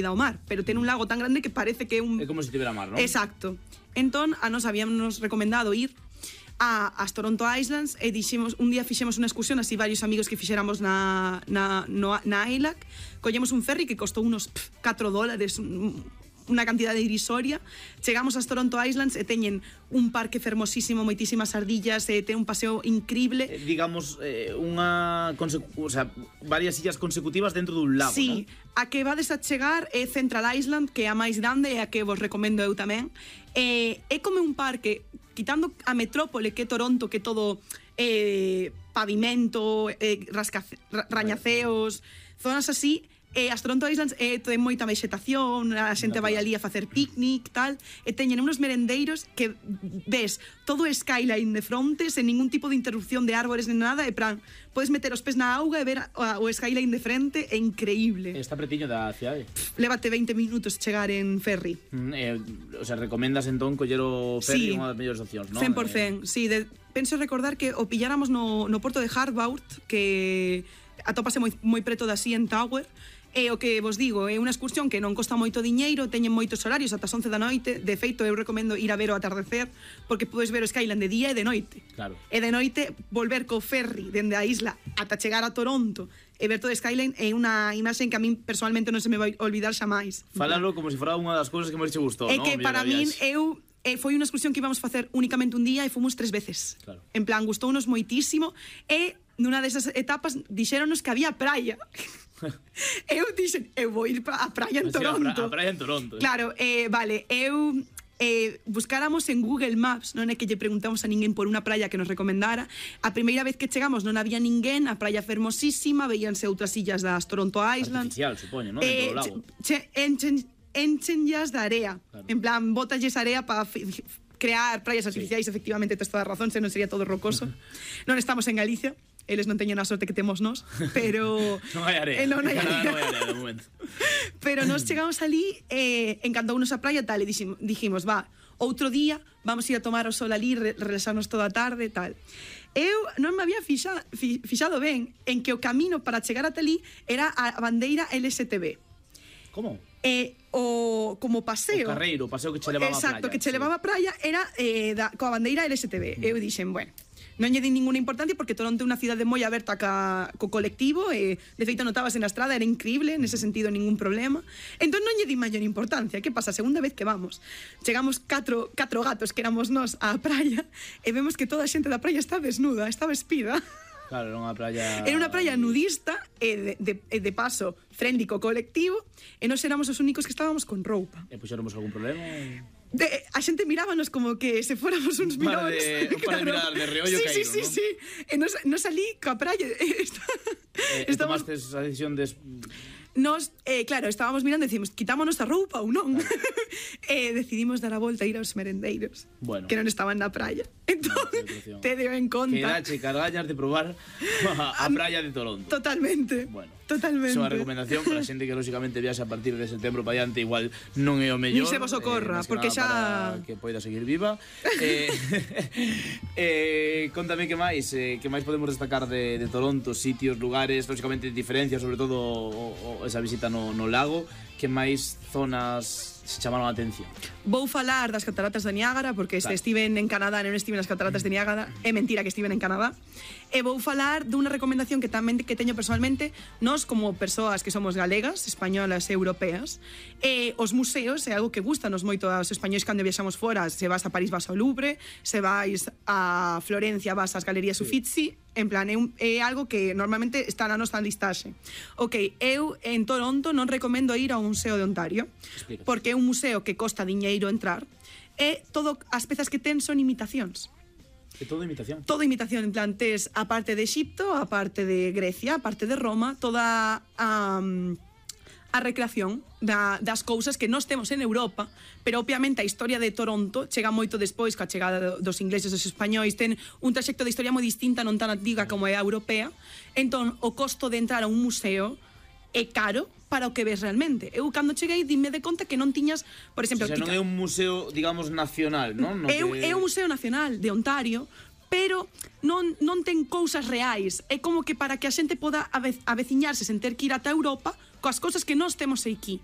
ao mar, pero ten un lago tan grande que parece que é un... É como se tivera mar, non? Exacto. Entón, a nos habíamos recomendado ir as Toronto Islands e dixemos, un día fixemos unha excursión así varios amigos que fixéramos na ILAC, collemos un ferry que costou unos $4, unha cantidade irrisoria. Chegamos ás Toronto Islands e teñen un parque fermosísimo, moitísimas ardillas, e ten un paseo increíble. Digamos, varias illas consecutivas dentro dun lago, sí, non? A que vades a chegar é Central Island, que é a máis grande e a que vos recomendo eu tamén. É como un parque, quitando a metrópole que é Toronto, que é todo pavimento, rañaceos, zonas así. As Toronto Islands ten moita vegetación, a xente vai ali a facer picnic, tal, e teñen unos merendeiros que ves todo o skyline de fronte, sen ningún tipo de interrupción de árbores nem nada, e plan, podes meter os pés na auga e ver o skyline de frente, é increíble. Está pretiño da cidade. Lévate 20 minutos chegar en ferry. Recomendas entón coller o ferry, unha das mellores opcións, non? 100%, sí, penso recordar que o pilláramos no porto de Hardbound, que atópase moi preto da CN Tower. E o que vos digo, é unha excursión que non costa moito diñeiro, teñen moitos horarios ata as 11 da noite. De feito, eu recomendo ir a ver o atardecer, porque podes ver o skyline de día e de noite. Claro. E de noite volver co ferry dende a isla ata chegar a Toronto e ver todo o skyline é unha imaxen que a min personalmente non se me vai olvidar xamais. Falalo como se fora unha das cousas que máis te gustou, non? É que para min foi unha excursión que íbamos facer únicamente un día e fomos 3 veces. Claro. En plan, gustounos moitísimo e nunha desas etapas dixéronos que había praia. Eu dixen, eu vou ir a praia en Toronto. A praia en Toronto. Claro, vale, eu buscáramos en Google Maps, non é que lle preguntamos a ninguén por unha praia que nos recomendara. A primeira vez que chegamos non había ninguén, a praia fermosísima, veíanse outras illas das Toronto Islands. Artificial, supoño, non? Dentro do lago. Enchenllas de area. Claro. En plan, botalles area para crear praias artificiais, efectivamente, tes toda a razón, senón sería todo rocoso. Non estamos en Galicia. Eles non teñen a sorte que temos nós, pero... non hai area. Non hai area. Non hai area, de momento. Pero nós chegamos ali, encantounos a praia, tal, e dijimos, outro día vamos ir a tomar o sol ali, relaxarnos toda a tarde, tal. Eu non me había fixado ben en que o camino para chegar ata ali era a bandeira LSTB. Como? Como paseo. O carreiro, o paseo que che levaba a praia. Exacto, que che levaba a praia era coa bandeira LSTB. Eu dixen, bueno, non lle di ninguna importancia porque Toronto é unha cidade moi aberta co colectivo e de feito notábase na estrada, era increíble, nese sentido ningún problema. Entón non lle di maior importancia. Que pasa? A segunda vez que vamos, chegamos catro gatos que éramos nós á praia e vemos que toda a xente da praia está desnuda, está vespida. Claro, era unha praia... Era unha praia nudista e de paso friendly co colectivo e nós éramos os únicos que estábamos con roupa. E puxéramos algún problema? A xente mirábanos como que se fóramos uns milóns. Para mirar de reollo caído, non? Sí. E nos salí coa praia. Tomastes a decisión de... Nos, claro, estábamos mirando e decimos, quitámonos a roupa ou non? E decidimos dar a volta e ir aos merendeiros, que non estaban na praia. Entón, te deo en conta. Quedache cargallas de probar a praia de Toronto. Totalmente. Bueno, totalmente. Iso é a recomendación para a xente que lógicamente viaxe a partir de setembro para diante, igual non é o mellor. Ni se vos ocorra, porque xa... Para que poida seguir viva. Contame que máis podemos destacar de Toronto, sitios, lugares, lógicamente diferencias, sobre todo esa visita no lago. Que máis zonas se chamaron a atención? Vou falar das cataratas de Niágara, porque estiven en Canadá, non estiven nas cataratas de Niágara, é mentira que estiven en Canadá. E vou falar dunha recomendación que tamén que teño personalmente, nós como persoas que somos galegas, españolas e europeas, os museos é algo que gustanos moito aos españois cando viaxamos fora. Se vas a París vas ao Louvre, se vais a Florencia vas ás Galerías Uffizi, en plan, é algo que normalmente está na nosa listaxe. Ok, eu en Toronto non recomendo ir ao Museo de Ontario, porque é un museo que costa diñeiro entrar, e as pezas que ten son imitacións. É todo imitación? Todo imitación, en plan, tes a parte de Egipto, a parte de Grecia, a parte de Roma, toda a recreación das cousas que nós temos en Europa, pero obviamente a historia de Toronto chega moito despois coa chegada dos ingleses e dos españois, ten un traxecto de historia moi distinta, non tan antiga como é a europea. Entón, o costo de entrar a un museo é caro para o que ves realmente. Eu cando cheguei dime de conta que non tiñas, por exemplo, o sea, non é un museo, digamos, nacional, non? É un museo nacional de Ontario, pero non ten cousas reais. É como que para que a xente poda aveciñarse sen ter que ir ata Europa coas cousas que nós temos aquí.